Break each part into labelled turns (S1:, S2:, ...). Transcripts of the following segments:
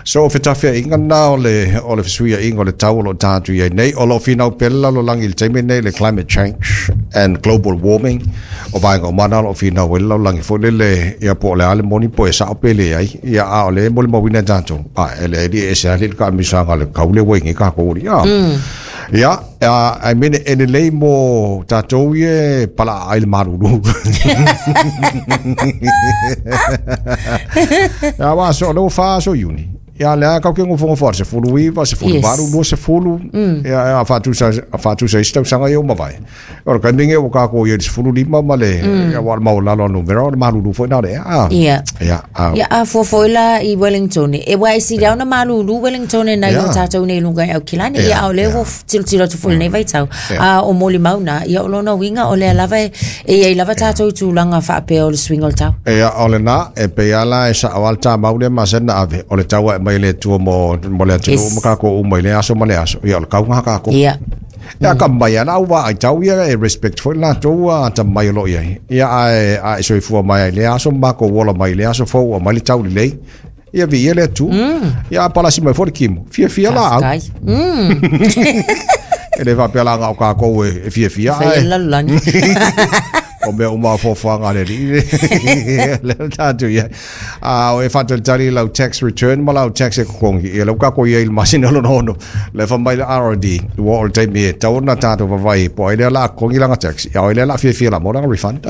S1: So o fetafiaiga lena o le o le fesuiaiga o le tau o lo o tatou i ai nei. O lo o finau pea le lalolagi i le taimi lenei i le climate change and global warming. O vaega uma na o lo o finau ai le lalolagi foi lele, ia po o le a le moni po e sao pe leai. Ia a o lea e molimauina e tatou, a e leai e ese lava le taamilosaga o le tau lea ua i ai nei tatou alii. Ia, I mean, e lelei mo tatou ia e palaa ai le malulu. Ia, aua so, lea ua 4 aso Iuni. Ia, lea kau ke ngofongofo a le 19, 18, 20. Ia, a faatusa, a faatusa isi tausaga ia ua mavae. O le taimi lenei ua tatou i ai i le 15 ma le, ia, aua o le maualalo o numera, o le malulu foi na o le ea. A.
S2: Ia.
S1: Ia, a.
S2: Ia, a fua foi la i Wellington, e aua e sili lava ona malulu Wellington nai lo
S1: Ia.
S2: tatou nei i luga i Aukilani.
S1: Ia,
S2: Ia, a o lea
S1: ia.
S2: ua tilotilo atu foi i lenei vaitau.
S1: Ia.
S2: A o molimau na, ia o lona uiga o lea lava e, e i ai lava tatou i tulaga faapea o le suiga o le tau.
S1: Ia, o lena, e pei lava la e sao lava le tamau lea masani na ave, o le tau e aumai e le Atua mo, mo le atunuu
S2: Yes.
S1: ma tatou uma i lea aso ma lea aso. Ia, o le tau lena a tatou.
S2: Ia.
S1: Ia ka mai ana au vaai tau ia e respect foi latou a atamai o lo o i ai. Ia ae a e soifua mai ai i lea aso ma matou ola mai i lea aso fou aumai le tau lelei. Ia viia le Atua. Ia a palasi mai foi le kimo. Fiafia laau.
S2: Faafetai.
S1: E le faapea la na o tatou e fiafia
S2: Fai
S1: ae
S2: le lalolagi.
S1: o mea uma o fuafuaga a le Alii. Lea tatou i ai. A o e faatalitali i lau tax return ma lau tax e totogi, ia lea ua tatou i ai i le masina lona ono, lea fai mai le RRD, ua oo i le taimi e tatau ona tatou vaavaai po o ai lea o le a totogi lana tax, a o ai lea o le a fiafia o le a maua lana refund.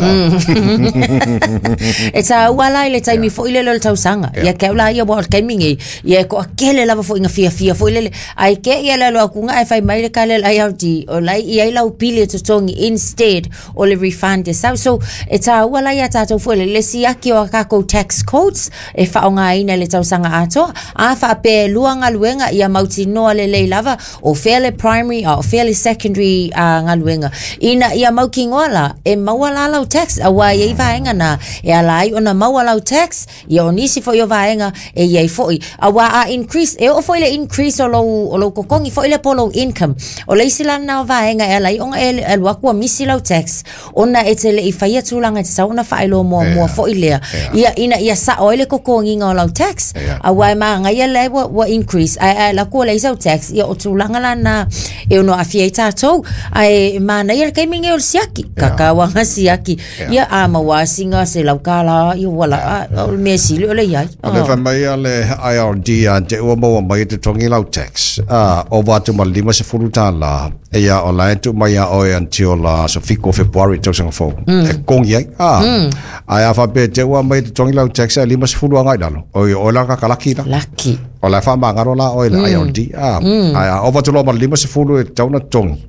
S2: E tāua la i le taimi foi lele o le tausaga. Ia te au la ia aua o le taimi nei, ia e toatele lava foi ina fiafia foi lele. Ae te i e alu atu ae fai mai le kale a le IRD, o la e i ai lau pili e totogi instead o le refund e sau. So, e tāua la iā tātou foi le siaki o a kākou tax codes e faaaogaina i le tausaga atoa. A faapea e lua galuega, ia mautinoa lelei lava o fea le primary a o fea le secondary galuega. Ina ia mautinoa la, e maua la lau tax, aua e i ai vaega na e ala ai ona maua lau tax, Ia o nisi foi o vaega e i ai foi. Aua a increase, e oo foi le increase o lou, o lou totogi foi lea po o lou income. O le isi la lena o vaega e ala ai ona e alu atu ua misi lau tax, ona e te le i faia tulaga e tatau ona faailoa muamua
S1: Ia,
S2: foi lea.
S1: ia.
S2: Ia, ina ia sao ai le totogiga o lau tax,
S1: Ia.
S2: aua e manaia lea ua, ua increase, ae a alu atu ua leai sau tax, ia o tulaga la na e ono aafia ai tatou. Ae manaia le taimi lenei o le siaki, tatau lava ona siaki. Ia a maua sina $100 ia ua la o le mea sili o le iai.
S1: O le fai mai a le IRD ia te ua maua mai e totogi lau tax, a, ova atu ma le $50, ia o la e tuu mai ia oe until aso 7 o Fepuari tausaga fou, e totogi ai. A, ae a faapea te ua aumai e totogi lau tax ae 50 agai i lalo, oi o oe la kaka laki la.
S2: Laki.
S1: O la e faamagalo la oe i le IRD, a, ae a ova atu loa ma le 50 e tatau ona totogi,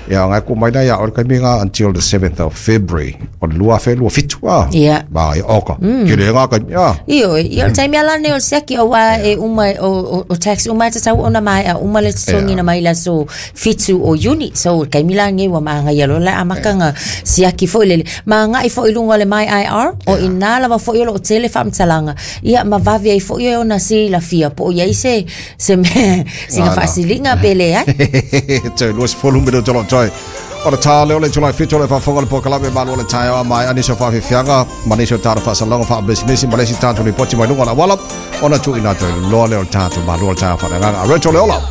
S1: Ia, ngai ku mai nei a oi taimi ngā until the 7th of February o le 2027 a.
S2: Ia.
S1: Ma ia oka. Ke le ngā kai ia.
S2: Ioe, ia o le taimi ala nei o le siaki aua e uma o, o, o tax uma e tatau ona maea uma le totogiina mai i le aso 7 o Iuni. So o le taimi la lenei ua magaia loa le amataga siaki foi lele. Ma agai foi i luga o le myIR, o ina lava foi o lo o tele faamatalaga, ia ma vave ai foi e ona silafia po o i ai se se mea, sina faasiliga pe leai.
S1: Toe 20 minuto lo toe. O le tā leo le itula e 7 o le faafofoga le polokalame Malu o le Taeao a maea nisi o faafiafiaga ma nisi o tatou faasalaga faapisinisi ma le isi tatou lipoti mai luga o le auala ona tuuina atu ai loa lea o le tatou Malu o le Taeao faaleagaga. Rachel Leola.